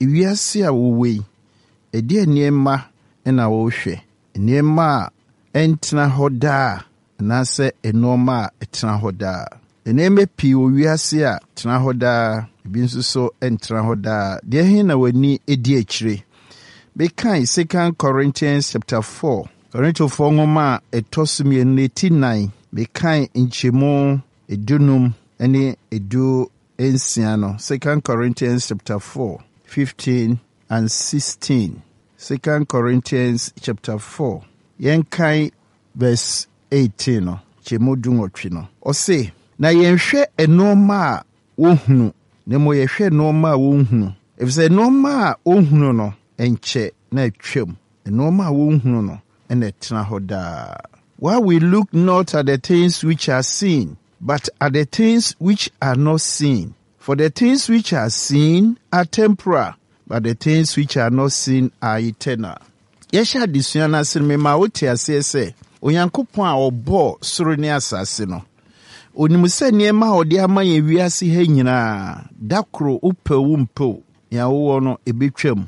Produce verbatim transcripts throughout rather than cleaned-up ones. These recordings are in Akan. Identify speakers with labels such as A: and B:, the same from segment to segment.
A: Ewiase a wowɔ yi, ɛdeɛ nneɛma na wɔrehwɛ? Nneɛma a ɛntena hɔ daa anaasɛ nneɛma a ɛtena hɔ daa? Nneɛma pii wɔ wiase a tena hɔ daa, ebi nso so ntena hɔ daa. Deɛ he na w'ani di akyire? Mekan Second Corinthians chapter four, Korintofoɔ nwoma a ɛtɔ so mmienu no ti nan, mekan nkyɛmu edunum ne edu nsia no. Second Corinthians chapter four, fifteen and sixteen. Second Corinthians chapter four, yɛnkan verse eighteen no, nkyɛmu dunwɔtwe no. Ɔse, na yɛnhwɛ nneɛma a wohunu, na mmom yɛhwɛ nneɛma a wonhunu. Efisɛ nneɛma a wohunu no, nkyɛ na atwam. Nneɛma a wonhunu no na ɛtena hɔ daa. While we look not at the things which are seen, but at the things which are not seen. For the things which are seen are temporal, but the things which are not seen are eternal. Yɛhyɛ adesua no ase no, mema wote aseɛ sɛ Onyankopɔn a ɔbɔɔ soro ne asase no, onim sɛ nneɛma a ɔde ama yɛn wiase ha nyinaa, da koro wopɛ wo mpɛ o, nea wowɔ no ebetwam.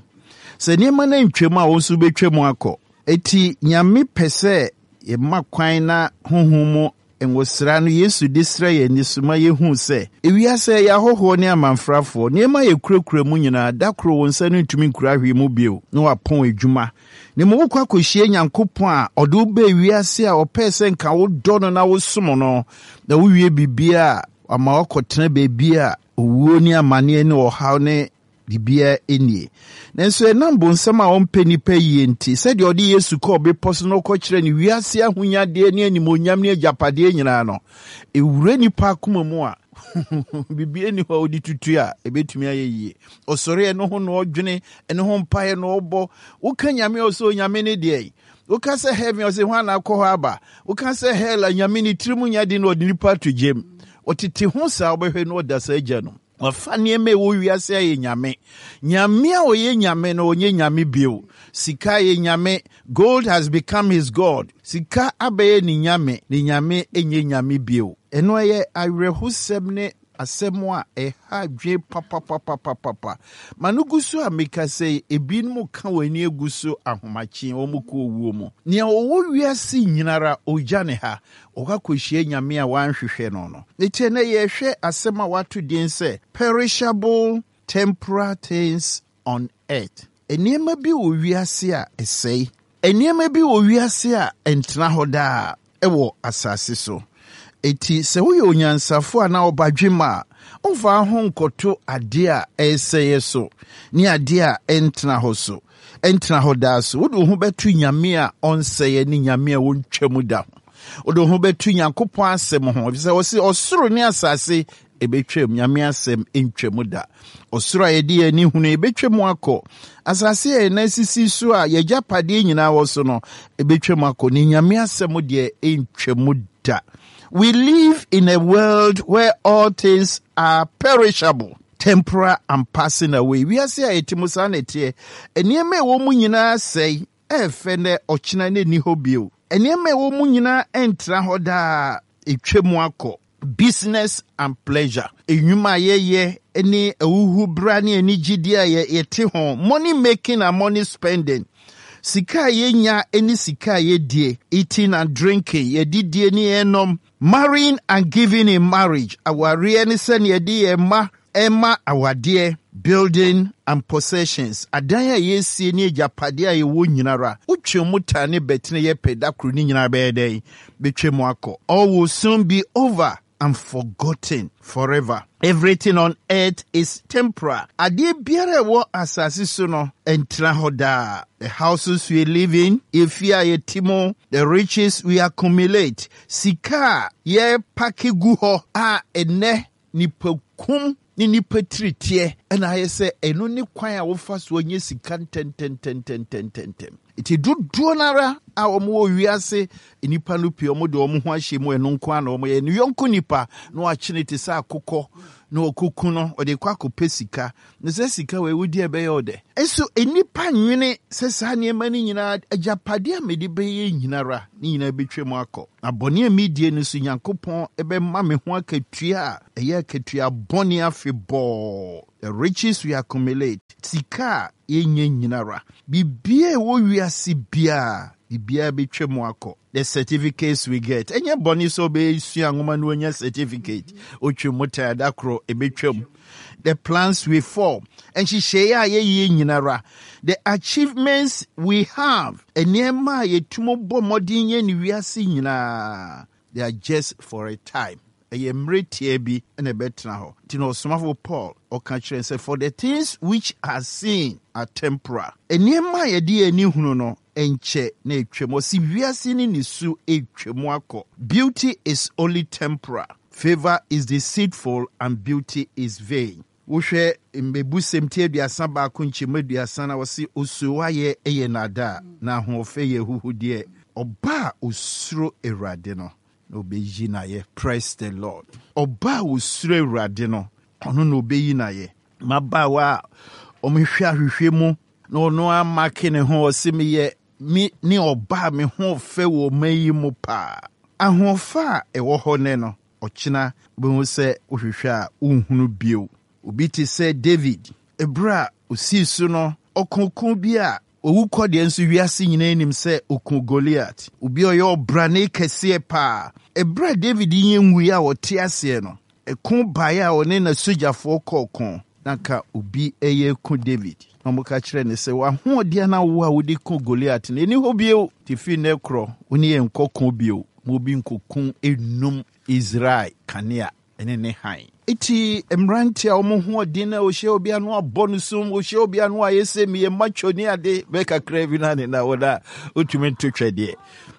A: Sɛ nneɛma no ntwam a, wo nso wobɛtwam akɔ. Eti Nyame pɛ sɛ yɛma kwan na honhom mu ngosra no Yesu de srɛ yɛn ani so ma yɛhu sɛ ewiase yɛ ahɔhoɔ ne amanfrafoɔ. Nneɛma a yɛkurakura mu nyinaa, da koro wo nsa no ntumi nkura hwee mu bio na wapɔn adwuma. Na mmom wokɔ akɔhyia Nyankopɔn a ɔde wo baa wiase a ɔpɛɛ sɛ nka wodɔ no na wosom no, na wowie biribiara a wama woakɔtena baabi a owuo ne amanneɛ ne ɔhaw ne biribiara nie. Nanso ɛnam bonsam a ɔmpɛ nnipa yie nti, sɛdeɛ ɔde Yesu kɔɔ bepɔ so na ɔkɔkyerɛ ne wiase ahonyadeɛ ne animonyam ne agyapadeɛ nyinaa no, ɛwura nnipa akoma mu a biribiara nni hɔ a wode tutu a ɛbɛtumi ayɛ yie. Ɔsɔre ɛno ho na ɔdwene, ɛno ho mpaeɛ na ɔbɔ. Woka Nyame a, ɔsɛ Onyame ne deɛ. Woka sɛ heaven, ɔsɛ hwan na akɔ hɔ aba? Woka sɛ hell a, Nyame ne tirim nya de na ɔde nipa ato gyam. Ɔtete ho saa, wobɛhwɛ no ɔda saa agya no. Wafa nneɛma a ɛwɔ wiase ayɛ Nyame. Nyame a ɔyɛ Nyame no, ɔnyɛ Nyame bio. Sika yɛ Nyame. Gold has become his god. Sika abɛyɛ ne Nyame. Ne Nyame nyɛ Nyame bio. Ɛno ɛyɛ awerɛhosɛm ne asɛm a ɛha adwene papapapapapa. Ma no gu so a meka sɛ ebinom ka wɔn ani agu so ahomakye wɔn kɔ owuo mu. Nea ɔwɔ wiase nyinara ogya ne ha. Ɔkɔ akɔhyia Nyame a wanhwehwɛ no no. Eti ɛnɛ yɛhwɛ asɛm a wato din sɛ perishable temporal things on earth. Nneɛma bi wɔ wiase a ɛsɛe. Nneɛma bi wɔ wiase a ɛntena hɔ daa ɛwɔ asase so. Eti sɛ woyɛ onyansafo a na ɔbadwemma a, womfa ho nkɔto adeɛ a ɛresɛeɛ so ne adeɛ a ɛntena hɔ so. Ɛntena hɔ daa so. Wode wo ho bɛto Nyame a ɔnsɛeɛ ne Nyame a wɔntwa mu da ho. Wode wo ho bɛto Nyankopɔn asɛm ho, efisɛ ɔse ɔsoro ne asase ebetwam, Nyame asɛm ntwa mu da. Ɔsoro a yɛde yɛn ani hunu ebetwa mu akɔ. Asase a yɛn nan sisi so a yɛgyapadeɛ nyinaa wɔ so no ebetwa mu akɔ. Ne Nyame asɛm deɛ ntwa mu da. We live in a world where all things are perishable, temporal and passing away. Wiase a yɛte mu saa na ɛteɛ. Nneɛma a ɛwɔ mu nyinaa sɛe, ɛɛfɛ nɛ ɔkyena ne nni hɔ bio. Nneɛma a ɛwɔ mu nyinaa ɛntena hɔ daa, etwa mu akɔ. Business and pleasure. Enwuma a yɛyɛ ne ahuhubra ne anigyedeɛ a yɛte ho. Money making and money spending. Sika a yɛnya ne sika a yɛdie. Eating and drinking. Yɛdidie ne yɛnom. Marrying and giving in marriage. Awareɛ ne sɛnea yɛde yɛn mma ɛma awadeɛ. Building and possessions. Adan a yɛsie ne agyapadeɛ a yɛwɔ nyinara. Wotwe mu ta ne bɛtene yɛ pɛ da koro ne nyinaa bɛyɛ dɛn? Bɛtwa mu akɔ. All will soon be over and forgotten forever. Everything on earth is temporal. Adeɛ biara a ɛwɔ asase so no ɛntena hɔ daa. The houses we live in, efie a yɛte mu, the riches we accumulate, sika a yɛpake gu hɔ a ɛnɛ nipakum ne nipa tiriteɛ ɛna ayɛ sɛ ɛno ne kwan a wofa so anya sika ntɛntɛntɛntɛntɛntɛm. Nti dodoɔ no ara a wɔn wɔ wiase nipa no pii wɔn de wɔn ho ahyɛ mu ɛno nko ara na wɔn yɛ ne yɔnko nipa na wakyene te sɛ akokɔ na ɔkuku no ɔde kɔ akɔpɛ sika na sɛ sika wɔ ewudi ɛbɛyɛ ɔdɛ. Nso nipa nwene sɛ saa nneɛma no nyinaa agyapadeɛ a mede bɛyɛ nyinara ne nyinaa bɛtwa mu akɔ. Na bɔne a medie no so Nyankopɔn ɛbɛma me ho akatua a ɛyɛ akatua bɔne afebɔɔ. The riches we accumulate. Sika a yɛnyɛ nyinara, biribiara ɛwɔ wiase biara, biribiara bɛtwa mu akɔ. The certificates we get, ɛnyɛ bɔne sɛ wobɛsua nwoma no wanya certificate, otwa mu tan da koro ɛbɛtwa mu. The plans we form, nhyehyɛeɛ a yɛyɛ nyinara, the achievements we have, nneɛma a yɛtum bɔ mmɔden yɛ ne wiase nyinaa, they are just for a time. Ɛyɛ mmerɛ tia bi na ɛbɛtena hɔ. Nti na ɔsomafo Paul ɔka kyerɛ sɛ, "For the things which are seen are temporal." Nneɛma a yɛde yɛn ani hunu no nkyɛ na etwam. Ɔsi wiase ne ne su etwam akɔ. Beauty is only temporal. Favor is deceitful and beauty is vain. Wohwɛ Mmebusɛm ti aduasa baako nkyɛmu aduasa na wɔsi osuo ayɛ ɛyɛ nada na ahoɔfɛ yɛ huhudeɛ. Ɔbaa a osuro Awurade no na obeyi n'ayɛ. Praise the Lord. Ɔbaa a osuro Awurade no, ɔno na obeyi n'ayɛ. Mmabaawa a wɔhwɛ ahwehwɛ mu na ɔno amake ne ho, ɔsi meyɛ me ne ɔbaa me ho fɛ wɔ ɔman yi mu paa. Ahoɔfɛ a ɛwɔ hɔ ne no, ɔkyena bɛhu sɛ wohwehwɛ a wonhunu bio. Obi te sɛ David, ɛberɛ a osii so no, ɔkoko bi a owu kɔ deɛ nso wiase nyinaa nim sɛ oku Goliat, obi a ɔyɛ ɔbrane kɛseɛ paa. Ɛberɛ a David yɛ nwui a ɔte aseɛ no, ɛko baeɛ a ɔne n'asogyafoɔ kɔɔ ko na ka obi ɛyɛ ku David na ɔmoka kyerɛ ne sɛ, "W'ahoɔden na wo a wode ko Goliat no ɛni hɔ bio, te firi nnɛ korɔ wo ne yɛ nkɔ ko bio, ma obi nkɔku enum Israel kanea ɛne ne han." Eti mmeranteɛ a wɔn ho ɔden na ɔhyɛ obi ano abɔ no sum, ɔhyɛ obi ano ayɛ sɛ meyɛ macho ne ade bɛɛ kakra bi na ne na wɔn a wotumi nto twɛdeɛ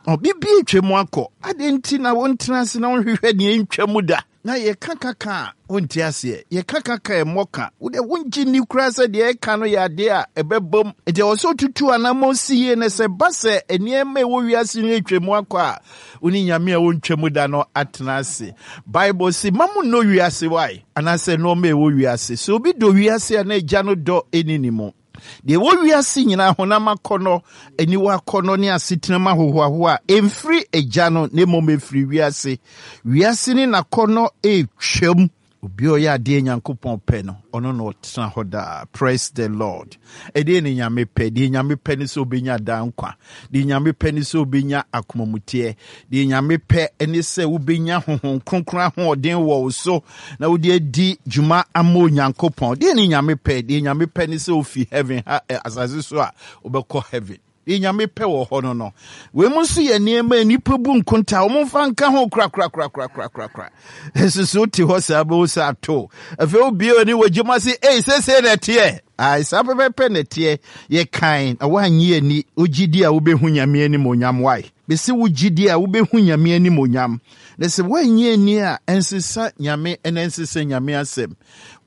A: ɔbibi atwa mu akɔ ade. Nti na wɔntena ase na wɔnhwehwɛ deɛ ntwa mu da na yɛka kaka a wonte aseɛ. Yɛka kaka ɛmmɔ ka wode wongye nni koraa sɛ deɛ ɛka no yɛ adeɛ a ɛbɛbom. Nti ɛwɔ sɛ wotutu anammɔ si yie na sɛ ba sɛ nneɛma ɛwɔ wiase no atwa mu akɔ a, wo ne Nyame a wɔntwa mu da no atena ase. Bible se ma mo nnɔ wiase wae anaasɛ nneɛma ɛwɔ wiase. Sɛ obi dɔ wiase a, na Agya no dɔ ɛni ne mu. Deɛ ɛwɔ wiase nyinaa, honam akɔnnɔ, aniwa akɔnnɔ ne asetenam ahohoahoa a, ɛmfiri Agya no na mmom ɛfiri wiase. Wiase ne n'akɔnnɔ ɛretwam. Obi a ɔyɛ adeɛ Nyankopɔn pɛ no, ɔno na ɔtena hɔ daa. Praise the Lord. Ɛdeɛ ne Nyame pɛ? Deɛ Nyame pɛ ne sɛ wobɛnya daa nkwa. Deɛ Nyame pɛ ne sɛ wobɛnya akomamuteɛ. Deɛ Nyame pɛ ne sɛ wobɛnya Honhom Kronkron ahoɔden wɔ wo so na wode adi dwuma ama Onyankopɔn. Deɛ ne Nyame pɛ? Deɛ Nyame pɛ ne sɛ wofi heaven ha asase so a, wobɛkɔ heaven. Deɛ Nyame pɛ wɔ hɔ no no wei mu nso yɛ nneɛma a nnipa bu nkonta, wɔn mfa nka ho korakorakorakorakorakora. Ɛsoso wote hɔ saa, bɛwo sɛ ato afei wobie w'ani wɔ gyema se ei, seesei na ɛteɛ. Ai, saa pɛpɛpɛ na ɛteɛ. Yɛkan na woanyɛ ani. Wogye di a, wobɛhu Nyame anim onyam. Wae bɛsɛ wogye di a, wobɛhu Nyame anim onyam. Na sɛ woanyɛ ani a, ɛnsesa Nyame ɛna ɛnsesa Nyame asɛm.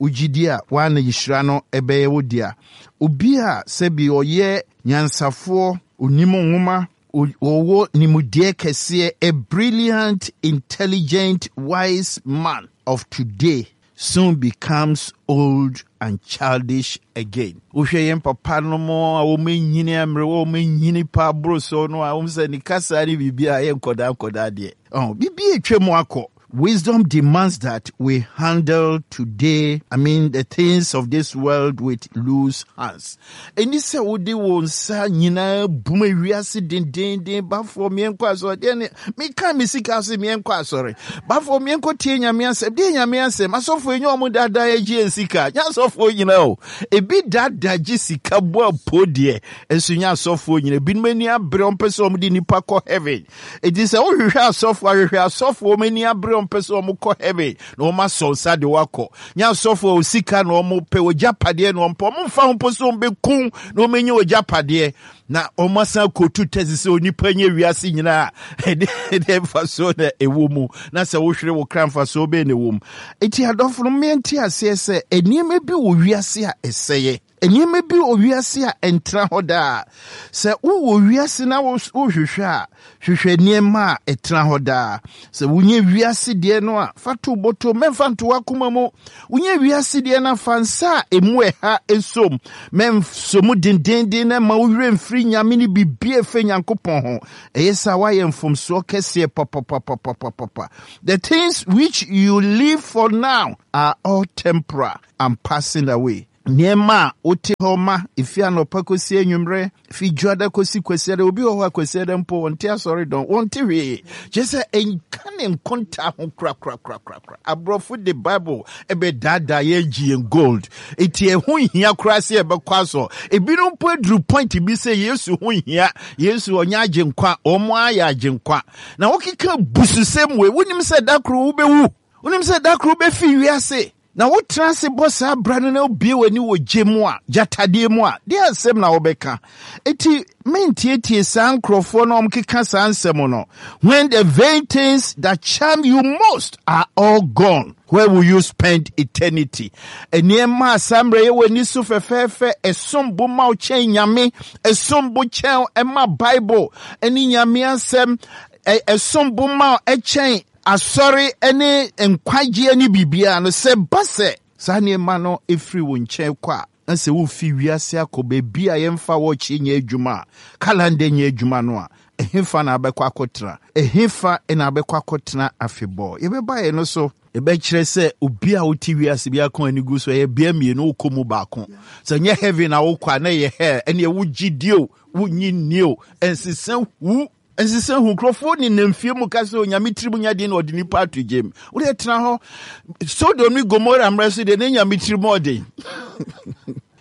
A: Wogye di a, woana nhyira no ɛbɛyɛ wo dea. Obi a sɛbi ɔyɛ nyansafoɔ, onim nwoma, ɔwɔ nimdeɛ kɛseɛ, a brilliant, intelligent, wise man of today soon becomes old and childish again. Wohwɛ yɛn papa no mu a wɔn anyini mmerɛ, wɔn anyini pa aboro so no a, wɔn sɛ ne kasa ne biribi a yɛ nkɔdaa nkɔdaa deɛ ɔn biribi atwa mu akɔ. Wisdom demands that we handle today, I mean, the things of this world with loose hands. Ɛni sɛ wode wo nsa nyinaa bum ewiase dendenden. Bafoɔ mmiɛnkɔ asɔre deɛ ne meka me sika ase, mmiɛnkɔ asɔre, bafoɔ mmiɛnkɔ tie Nyame asɛm deɛ, Nyame asɛm asɔfoɔ enye ɔmo daadaa agye yɛn sika. Nyɛ asɔfoɔ nyinaa o, ebi daadaa gye sika bɔ apo deɛ, nso nyɛ asɔfoɔ nyinaa. Ebinom ani abere, ɔmpɛ sɛ ɔmo de nipa kɔ heaven. Eti sɛ wohwehwɛ asɔfoɔ, ahwehwɛ asɔfoɔ ɔmo ani abere, ɔmpɛ sɛ ɔmo kɔ heaven na ɔmo asɔ nsa de wakɔ. Nyɛ asɔfoɔ o, sika na ɔmo pɛ, ogya padeɛ na ɔmo pɛ. Ɔmo nfa ho mpo sɛ ɔmo bɛkum na ɔmo anya ogya padeɛ na ɔmo asan kotu tɛsi sɛ onipa nye wiase nyinaa. ɛde ɛde mfasoɔ na ɛwɔ mu? Na sɛ wohwere wo kra, mfasoɔ bɛyɛ na ɛwɔ mu? Eti adɔfo no, mmea aseɛ sɛ nneɛma bi wɔ wiase a ɛsɛeɛ, nneɛma bi wɔ wiase a ɛntena hɔ daa. Sɛ wowɔ wiase na wohwehwɛ a, hwehwɛ nneɛma a ɛtena hɔ daa. Sɛ wonyɛ wiase deɛ no a, fa to bɔtɔ, mɛmfa nto w'akoma mu. Wonyɛ wiase deɛ no a, fa nsa a emu ɛha esom, mɛnso mu dendenden na ma wo werɛ mfiri Nyame ne biribi a ɛfɛ Nyankopɔn ho. Ɛyɛ sɛ woayɛ mfomsoɔ kɛseɛ papapapapapapa. The things which you live for now are all temporal and passing away. Nneɛma a wote hɔ ma efi anɔpa kɔsi anwummerɛ, fi dwoada kɔsi kwasiada. Obi wɔ hɔ a kwasiada mpo wɔnte asɔre dɔn, wɔnte hwee, kyerɛ sɛ ɛnka ne nkonta ho korakorakorakora. Aborɔfo de Bible ɛbɛdaadaa yɛn gye yɛn gold, eti ɛho nhia koraa sɛ yɛbɛkɔ asɔ. Ebinom mpo aduru point bi sɛ Yesu ho nhia, Yesu ɔnyɛ agye nkwa, wɔn ayɛ agye nkwa. Na wokeka bususɛm wei, wonim sɛ da koro wobɛwu, wonim sɛ da koro wobɛfi wiase, na wotena ase bɔ saa bra no na wobie w'ani wɔ gye mu a gyatadeɛ mu a, deɛ asɛm na wobɛka? Eti mentietie saa nkurɔfoɔ na ɔmkeka saa nsɛm no. When the vain things that charm you most are all gone, where will you spend eternity? Nneɛma a saa mmerɛ yɛ w'ani so fɛfɛɛfɛ, ɛsom bo ma wo kyɛn Nyame, ɛsom bo kyɛn ɛma Bible ɛne Nyame asɛm, ɛsom bo ma wo ɛkyɛn asɔre ne nkwagyeɛ ne biribiara no, sɛ ba sɛ saa nneɛma no ɛfiri wo nkyɛn kɔ a, na sɛ wofi wiase akɔ baabi a yɛmfa wɔkye nyɛ adwuma a, calendar nyɛ adwuma no a, ɛhefa na abɛkɔ akɔtena? Ɛhefa na abɛkɔ akɔtena afebɔɔ? Yɛbɛba yɛ no so, ɛbɛkyerɛ sɛ obi a wote wiase bi aka ani gu so, ɛyɛ bea mmienu, wokɔ mu baako. Sɛ nyɛ heaven na wokɔ a, na ɛyɛ hell. Ɛneɛ wogye die o, wonyi nnie o, ɛnsesa hu, ɛnsesa hu. Nkurɔfoɔ ne nam fie mu ka sɛ Onyame tirim nya den na ɔde nipa ato gyem. Wode tena hɔ, Sodom ne Gomora mmerɛ so deɛ, ne Nyame tirim ɔden,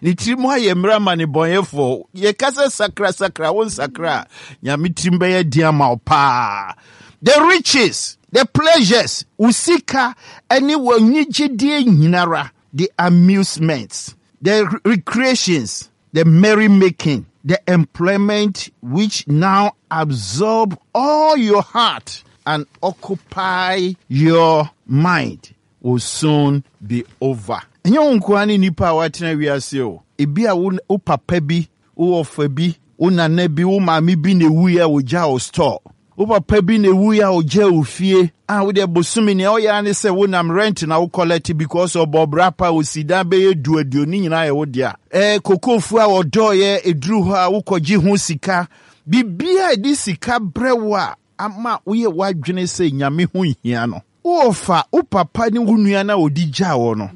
A: ne tirim ayɛ mmerɛ ama ne bɔnyɛfoɔ. Yɛka sɛ sakra, sakra, wo nsakra a, Nyame tirim bɛyɛ den ama wo paa. The riches, the pleasures, wo sika ne w'anigyedie nyinara, the amusements, the recreations, the merrymaking, the employment which now absorb all your heart and occupy your mind will soon be over. Ɛnyɛ wo nkoa ne nipa a watena wiase o. Ebi a wo, wo papa bi, wo ɔfa bi, wo nana bi, wo maame bi na ewu a ogya wo store. Wo papa bi na ewu a ogya wo fie a wode bosome nea ɔyɛ ne sɛ wonam rent na wo collect because ɔbɔ bra pa, osi dan bɛyɛ du aduonu nyinaa yɛ wo dea. Ɛɛ kokofu a ɔdɔɔyɛ eduru hɔ a wokɔgye ho sika, biribiara a ɛde sika brɛ wo a ama woyɛ w'adwene sɛ Nyame ho nhia no. Wɔfa wo papa ne wo nua na ɔdi gyaa wɔ no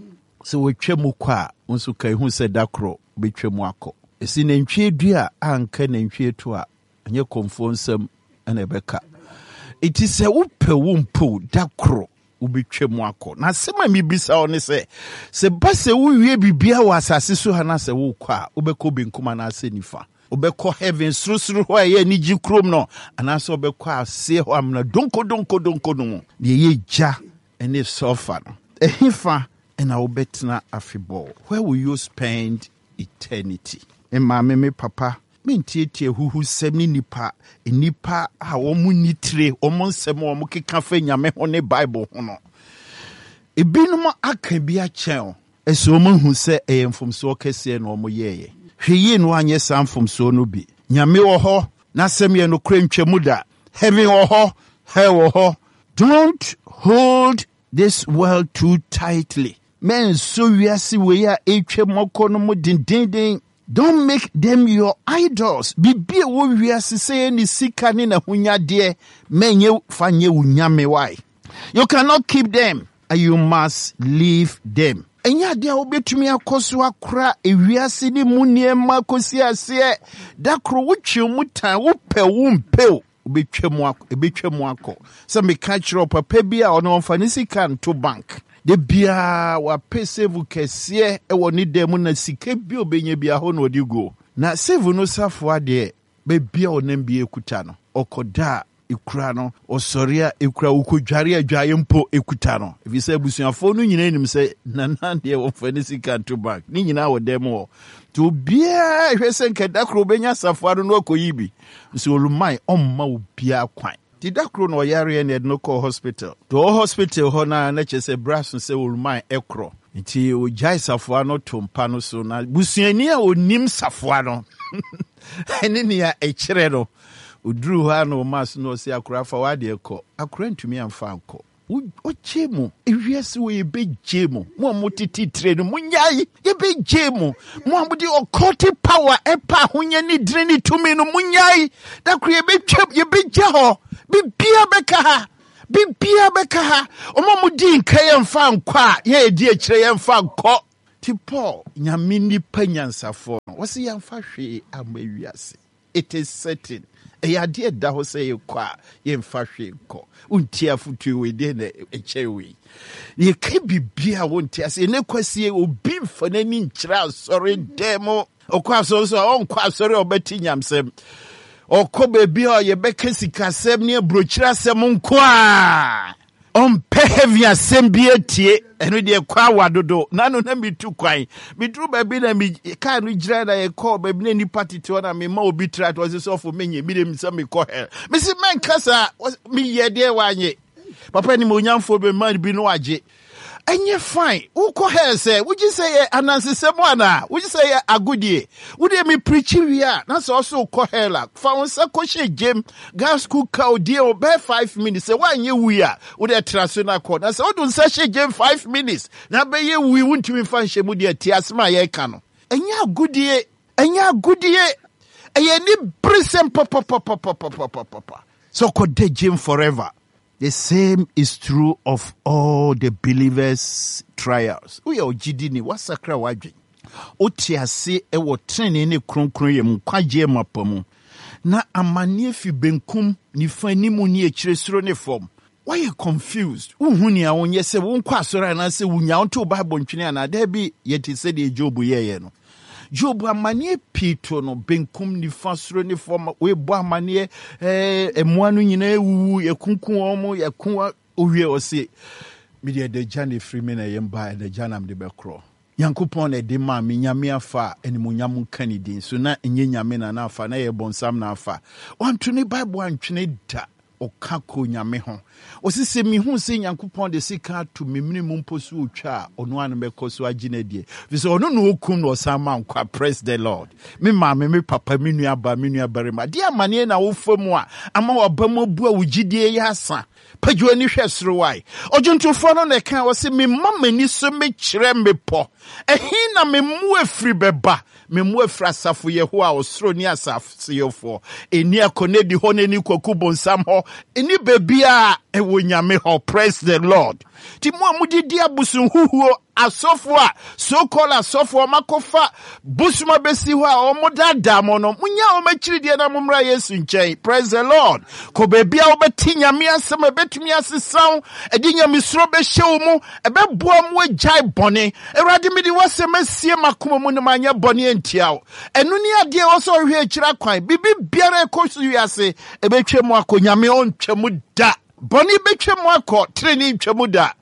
A: sɛ wɔatwa mu kɔ a, wo nso ka ehu sɛ da korɔ bɛtwa mu akɔ. Ɛsi nantwie dua a anka nantwie to a, ɛnyɛ kɔmfoɔ nsɛm ɛna ɛbɛka. Eti sɛ wopɛ wo mpo, da korɔ wobɛtwa mu akɔ. Na asɛm a mebisa wo ne sɛ, sɛ ba sɛ wowie biribiara wɔ asase so ha na sɛ wokɔ a, wobɛkɔ benkum anaasɛ nifa? Wobɛkɔ heaven sorosoro hɔ a ɛyɛ anigye kurom no, anaasɛ wobɛkɔ aseɛ hɔ amena donko donko donko no mu deɛ ɛyɛ gya ne sulfur no? Ɛhefa ɛna wobɛtena afebɔɔ? Where will you spend eternity? Me maame, me papa, mentietie huhusɛm ne nipa nipa a wɔn ni tire, wɔn nsɛm a wɔn keka fa Nyame ho ne Bible ho no. Ebinom aka bi akyɛn o, ɛsɛ wɔn ahu sɛ ɛyɛ mfomsoɔ kɛseɛ na wɔn yɛɛyɛ. Hwɛ yie no anyɛ saa mfomsoɔ no bi. Nyame wɔ hɔ, n'asɛm yɛ nokorɛ, ntwamu da. Heaven wɔ hɔ, hell wɔ hɔ. Don't hold this world too tightly. Mɛnso wiase wei a ɛtwa mu akɔ no mu dendenden. Don't make them your idols. Biribi a ɛwɔ wiase sɛ yɛ ne sika ne n'ahonyadeɛ, mɛnyɛ fa nyɛ wo nyame. Why? You cannot keep them and you must leave them. Ɛnyɛ adeɛ a wobɛtumi akɔ so akora ewiase ne mu nneɛma kɔsi aseɛ. Da koro wotwe mu tan, wopɛ wo mpɛ, wobɛtwa mu akɔ, ɛbɛtwa mu akɔ. Sɛ meka kyerɛ papa bi a ɔno ɔmfa ne sika nto bank de biara, wapɛ safe kɛseɛ ɛwɔ ne dan mu, na sika bi a ɔbɛnya bi ahɔ na ɔde guo. Na safe no safoa deɛ, baabi a ɔnam bi ekuta no, ɔkɔda a ekura no, ɔsɔre a ekura, ɔkɔdware adwaeɛ mpo ekuta no, ɛfiri sɛ abusuafoɔ no nyinaa nim sɛ nana deɛ wɔmfa ne sika nto bank, ne nyinaa wɔ dan mu hɔ. Nti obiara hwɛ sɛ nka da koro obɛnya safoa no na ɔkɔyi bi, nso oluman ɔmma obiara kwan. Nti da koro na ɔyareɛ na yɛde no kɔɔ hospital. Nti ɔwɔ hospital hɔ no na kyerɛ sɛ berɛ aso sɛ oluman ɛkorɔ, nti ogyae safoa no to mpa no so. Na busuani a onim safoa no ɛne nea ɛkyerɛ no, oduru hɔ a na ɔma so na ɔsɛ akora, "Fa w'adeɛ kɔ." Akora ntumi amfa ankɔ. Ɔgye mu ewiase wɔ, yɛbɛgye mu. Mo a motete tire no, monyae, yɛbɛgye mu. Mo a mode occultic power ɛpa ahonya ne dire ne tumi no, monyae. Da koro yɛbɛtwa, yɛbɛgya hɔ, bibia bɛka ha, bibia bɛka ha. Ɔmo a modi nka yɛmfa nkɔ a, yɛn edi akyire yɛmfa nkɔ. Ti Paul, Nyame nipa nyansafoɔ no, wɔse yɛmfa hwee amma wiase. It is certain. Ɛyɛ adeɛ ɛda hɔ sɛ yɛkɔ a yɛmfa hwee nkɔ. Wontie afotuo wei deɛ na ɛkyɛn wei. Yɛka biribi a wonte ase. Ɛnɛ kwasie obi mfa n'ani nkyerɛ asɔre dɛm mu. Ɔkɔ asɔre so a ɔnkɔ asɔre a ɔbɛte nyamsɛm. Ɔkɔ baabi a yɛbɛka sikasɛm ne aburokyire asɛm nko a ɔmpɛ heavy asɛm bi atie. Ɛno deɛ kɔ awa dodo. Nano na metu kwan. Meduru baabi na me kaa no gyina na yɛkɔɔ baabi na nipa tete hɔ na mema obi tra to ɔse sɔfo menye mede sɛ mekɔ hell. Mesi mɛnka saa, meyɛ deɛ wanye. Papa ni mo onyamfoɔ bɛ ma bi no agye. Ɛnyɛ fine. Wokɔ hell sɛ wogye sɛ yɛ anansesɛm anaa wogye sɛ yɛ agodie. Wode me preachi wie a na sɛ ɔso wokɔ hell a fa wo nsa kɔhyɛ gyem gas cooker odie o bɛyɛ five minutes. Sɛ woanyɛ wui a wode tra so no akɔ. Na sɛ wode nsa hyɛ gyem five minutes na bɛyɛ wui wontumi mfa nhyɛ mu deɛ te asɛm a yɛreka no. Ɛnyɛ agodie. Ɛnyɛ agodie. Ɛyɛ ni bere sɛm papapapapapapapa. Sɛ ɔkɔda gyem forever. The same is true of all the believers' trials. Woyɛ ogyidini, wasakra w'adwen. Wote ase wɔ tenenee ne kronkron mu, nkwagyeɛ mapa mu. Na amanneɛ fi benkum, nifa, anim ne akyire, soro ne fam. Woayɛ confused. Wonhu nea wonyɛ sɛ wonkɔ asɔre anaasɛ wonya wonto Bible ntwene anaa daabi yɛte sɛdeɛ Job yɛeɛ no. Job amanneɛ pii to no benkum nifa soro ne fam. Woebɔ amanneɛ ɛɛ mmoa no nyinaa ewuwu yɛkunkum wɔn yɛko owie ɔse mede ɛdagya na efiri me na ɛyɛ mba ɛdagya na mede bɛkorɔ. Nyankopɔn na ɛde maa me Nyame afa a animuonyam nka ne din so na ɛnyɛ Nyame na n'afa na ɛyɛ bɔnsam na afa. Wanto ne Bible antwene da. Ɔka kɔ Nyame ho. Ɔse sɛ mehu sɛ Nyankopɔn de sika ato me mene mu mpo so otwa a ɔno ano mɛkɔ so agye no adie. Firi sɛ ɔno na ɔkum na ɔsan ma nkwa. Praise the Lord. Me maame, me papa, me nua ba, me nua barima. Deɛ amanneɛ na wofa mu a ama waba mu abu a wo gyidie yɛ asa. Pagyo ani hwɛ soro wae. Ɔdwontofoɔ no na ɛka ɔse mema m'ani so mekyerɛ mmepɔ. Ɛhe na me mmoa firi bɛba? Me mmoa firi asafo Yehowa ɔsoro ne asase yɛfoɔ. Ɛni akɔnɛdi hɔ na ɛni kwaku bonsam hɔ. Ɛni baabi a ɛwɔ Nyame hɔ. Praise the Lord. Ti mo a modidi abosonhuhuo asɔfoɔ a so-called asɔfoɔ ɔmakɔfa bosom abɛsi hɔ a ɔmo daadaa mo no, munya wɔn akyiri deɛ na mommra Yesu nkyɛn. Praise the Lord. Kɔ baabi a wobɛte Nyame asɛm a ɛbɛtumi asesa wo, ɛde nyamesuro bɛhyɛ wo mu, ɛbɛboa mo agyae bɔne. Awurade mede w'asɛm asie m'akoma mu na manyɛ bɔne antia wo. Ɛno ne adeɛ ɛwɔ sɛ ɔhwɛ akyiri akwan. Biribi biara ɛkɔ so wiase ɛbɛtwa mu akɔ. Nyame ɔntwa mu da. Bɔne bɛtwa mu akɔ, tenenee ntwa mu da.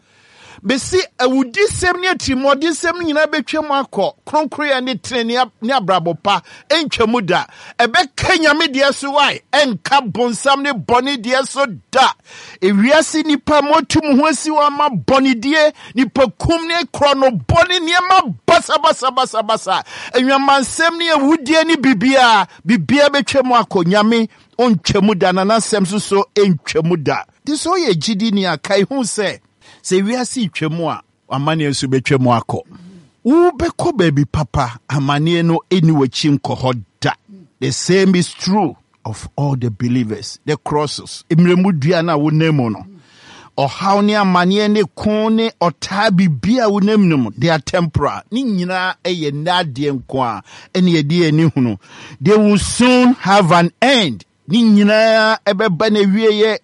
A: Bɛsi awudisɛm ne atirimuɔdensɛm nyinaa bɛtwa mu akɔ. Kronkroyɛ ne tenenee ne abrabɔ pa ntwa mu da. Ɛbɛka Nyame deɛ so wae, ɛnka bonsam ne bɔne deɛ so da. Ewiase nipa moatu mo ho asi hɔ ama bɔnedie, nipa kum ne korɔ no bɔne nneɛma basabasabasabasa. Anwamansɛm ne awudie ne biribiara, biribiara bɛtwa mu akɔ. Nyame ɔntwa mu da na n'asɛm nso so ntwa mu da. Nti sɛ ɔyɛ gyidini a kae hu sɛ sɛ wiase twa mu a amanneɛ nso bɛtwa mu akɔ. Wobɛkɔ baabi papa, amanneɛ no ɛni w'akyi nkɔ hɔ da. The same is true of all the believers. The crosses, mmerɛmu dua no a wonam mu no, ɔhaw ne amanneɛ ne ko ne ɔtaa biribi a wonam no mu, they are temporal. Ne nyinaa ɛyɛ nna adeɛ nko a ɛne yɛde yɛn ani hunu. They will soon have an end. Ne nyinaa ɛbɛba na wieyɛ.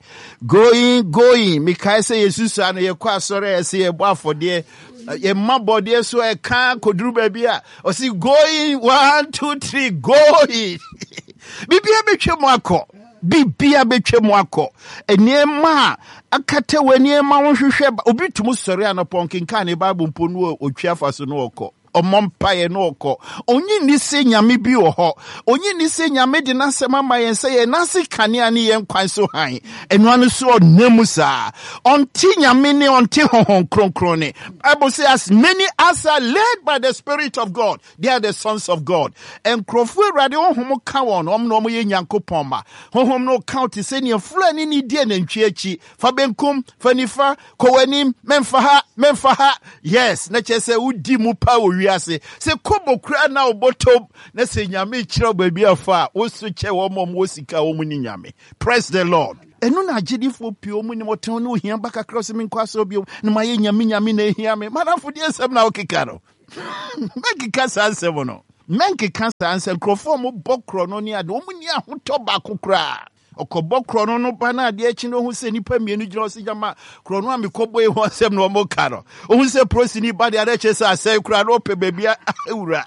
A: Going, going. Mekae sɛ yɛsusua no yɛkɔ asɔre a yɛsɛ yɛbɔ afɔdeɛ. Yɛma bɔdeɛ so ɛka kɔduru baabi a ɔsi going one two three going. Biribiara bɛtwa mu akɔ. Biribiara bɛtwa mu akɔ. Nneɛma a akata wɔ nneɛma ho hwehwɛ obi tum sɔre anɔpɔ nkenkan ne Bible mpo no otwi afa so no ɔkɔ. Ɔmmɔ mpaeɛ no ɔkɔ. Onyi nni sɛ Nyame bi wɔ hɔ. Onyi nni sɛ Nyame de n'asɛm ama yɛn sɛ yɛn n'ase kanea ne yɛn kwan so hann. Ɛno ano so ɔnam mu saa. Ɔnte Nyame ne ɔnte Honhom Kronkron ne. Bible say as many as are led by the Spirit of God, they are the sons of God. Nkurɔfoɔ Awurade honhom ka wɔn, wɔn na wɔn yɛ Nyankopɔn ma. Honhom no ka te sɛ nea Fulani ne di anantwie akyi. Fa benkum, fa nifa, kɔ w'anim, mɛmfa ha, mɛmfa ha. Yes, na kyerɛ sɛ wodi mu pa wɔ wiase. Sɛ kobo koraa na wobɔtɔm, na sɛ Nyame kyerɛ wo baabi afa a, wo so kyɛ wɔn a wɔwɔ sika a wɔn ni Nyame. Praise the Lord. Ɛno na agyedifoɔ pii wɔn nim ɔtɛn ne ohia ba kakra sɛ menkɔ asɔre bio na mayɛ Nyame Nyame na ehia me. Madamfo deɛ nsɛm na wokeka no. Mɛnkeka saa nsɛm no, mɛnkeka saa nsɛm. Nkurɔfoɔ a mobɔ korɔ no ne ade, wɔn ni ahotɔ baako koraa. Ɔkɔbɔ korɔ no no ba no, adeɛ akyi no, ohu sɛ nnipa mmienu gyina hɔ sɛ gyama korɔ no a mekɔbɔ yi ho asɛm na ɔmo ka no. Ohu sɛ polisini ba deɛ, adeɛ kyerɛ sɛ asɛe koraa na ɔpɛ baabi awura.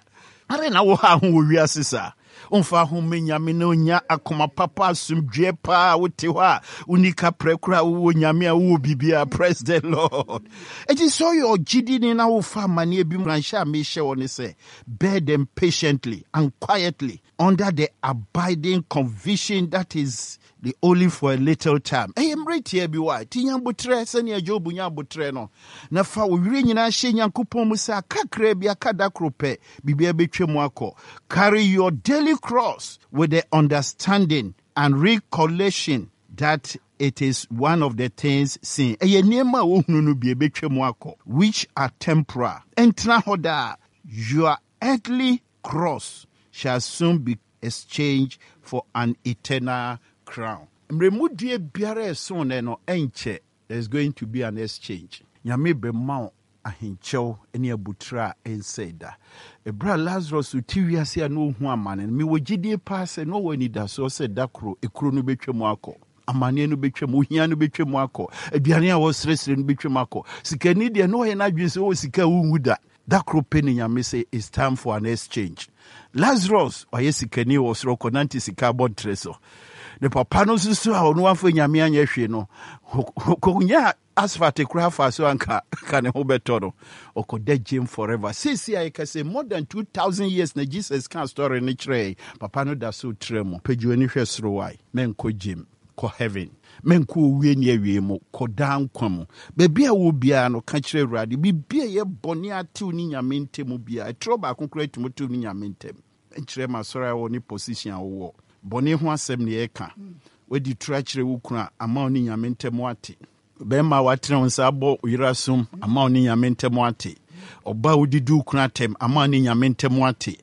A: Are na wo ha ho wɔ wiase saa, ɔmfa ho ma Nyame na ɔnya akoma papa, asomdwoeɛ paa. Wote hɔ a, woni kaprɛ koraa, wowɔ Nyame a wowɔ biribia. Praise the Lord. Ɛnti sɛ ɔyɛ ɔgyedini na wofa amanneɛ bi mu, nhyɛ a mehyɛ wɔ ne sɛ bear them patiently and quietly under the abiding conviction that is the only for a little time. Ɛyɛ mmerɛ tia bi wɔ a ti nya abotrɛ sɛnea Job nya abotrɛ no, na fa wo werɛ nyinaa hyɛ Nyankopɔn mu sɛ akakra bi aka, da koro pɛ biribia bɛtwa mu akɔ. Carry your daily cross with the understanding and recollection that it is one of the things seen. Ɛyɛ nneɛma a wohunu no bi ɛbɛtwa mu akɔ, which are temporal, ɛntena hɔ daa. Your earthly cross shall soon be exchanged for an eternal crown. Mmerɛmudua biara ɛso nɛ no, ɛnkyɛ there's going to be an exchange. Nyame bɛma wo ahenkyɛw ne abotire a ɛnsɛe da. Ɛberɛ a Lazarus te wiase a na ɔhu amane no, mewɔ gyidie paa sɛ na ɔwɔ anidasoɔ sɛ da koro ekuro no bɛtwa mu akɔ, amanneɛ no bɛtwa mu, ohia no bɛtwa mu akɔ, aduane a wɔsrɛsrɛ no bɛtwa mu akɔ. Sikani deɛ, na ɔyɛ n'adwene sɛ ɔwɔ sika a wonwu da. Da koro pɛ ne Nyame sɛ it's time for an exchange. Lazarus ɔyɛ sikani wɔ soro, kɔnante sika abɔntere so. Ne papa no nso so a ɔno wamfa Nyame anyɛ hwee no, kɔnya asphalt koraa fa so anka ka ne ho bɛtɔ no, ɔkɔda gyem forever. Seesi a yɛka sɛ more than two thousand years na Jesus ka story no kyerɛɛ papa no, da so trɛ mu. Pagyi w'ani hwɛ soro wae, mɛnkɔ gyem, kɔ heaven. Mɛnkɔ owie ne awie mu, kɔ daa nkwa mu. Baabi a wɔ biara no, ka kyerɛ Awurade biribi a ɛyɛ bɔne atew ne Nyame ntam biara. Ɛtorɔ baako koraa atumi tew ne Nyame ntam. Nkyerɛ ma asɔre a wɔ ne position a wowɔ, bɔne ho asɛm ne yɛka. Wadi toro akyerɛ wo kunu a, ama wo ne Nyame ntam ate. Bɛrima a watena wo nsa abɔ yere asom, ama wo ne Nyame ntam ate. Ɔba a wodidi wo kunu atɛm, ama wo ne Nyame ntam ate.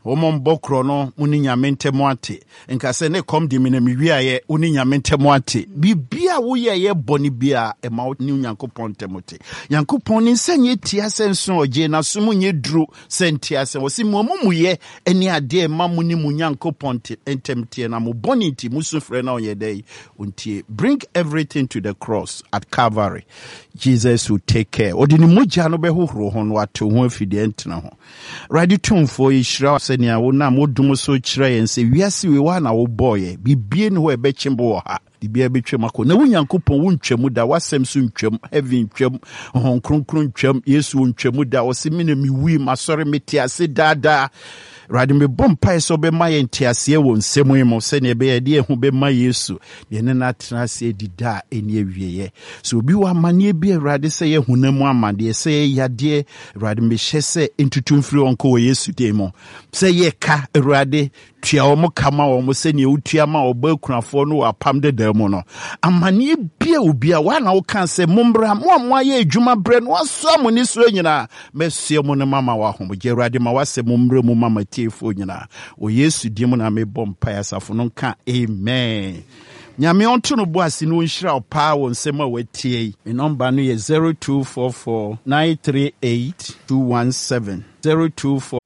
A: Wɔn mbɔ korɔ no, mo ne Nyame ntam ate. Nka sɛ ne kɔm de me na mewiaeɛ, wo ne Nyame ntam ate. Biribia a woyɛ yɛ bɔne bia, ɛma wo ne Nyankopɔn ntam te. Nyankopɔn ne nsa nyɛ tia sɛ nso ɔgye nasom nyɛ duro sɛ nte asɛm. Wɔsi mo amumuyɛ ne adeɛ ɛma mo ne mo Nyankopɔn ntam teɛ, na mo bɔne nti musu frɛ na ɔnyɛ dɛ ɔntie. Bring everything to the cross at Calvary. Jesus will take care. Ɔde ne mogya no bɛhohoro ho no, watew ho afi deɛ ntena ho. Awurade Tumfoɔ, yɛhyira sɛnea wonam wodom so kyerɛ yɛn sɛ wiase wei wa na wobɔɔyɛ. Bibie ne hɔ a ɛbɛkye bo wɔ ha, biribiara bɛtwam akɔ, na wo Nyankopɔn wontwam da. W'asɛm so ntwam, heaven ntwam, Honhom Kronkron ntwam, Yesu ntwam da. Ɔse me na mewui, masɔre, mete ase daadaa. Awurade, mebɔ mpae sɛ wobɛma yɛn nteaseɛ wɔ nsɛm yi mu, sɛnea ɛbɛyɛ de yɛn ho bɛma Yesu deɛ ne no atena ase adi da a ɛni awieeɛ. Sɛ obi wɔ amanneɛ bi, Awurade, sɛ yɛ honam mu amanneɛ, sɛ yɛ yadeɛ, Awurade, mehyɛ sɛ ntutu mfiri wɔn kɔ wɔ Yesu din mu. Sɛ yɛ ka, Awurade, tua wɔn ka ma wɔn sɛnea wotua ma ɔba akunafoɔ no wɔ apam dedaa mu no. Amanneɛ bia obi a woana woka sɛ mommra, mo a moayɛ adwuma berɛ no wasoa mo ne soɔ nyinaa, mɛsoa mu no mama wɔ ahomegye. Awurade, ma woasɛ mo mmerɛ mu ma matiefoɔ nyinaa. Wɔ Yesu din mu na mebɔ mpae. Asafo no nka amen. Nyame ɔnto no bo ase na ɔnhyira wo paa wɔ nsɛm a watie yi. Me nɔmba no yɛ zero two four four nine three eight two one seven, zero two four.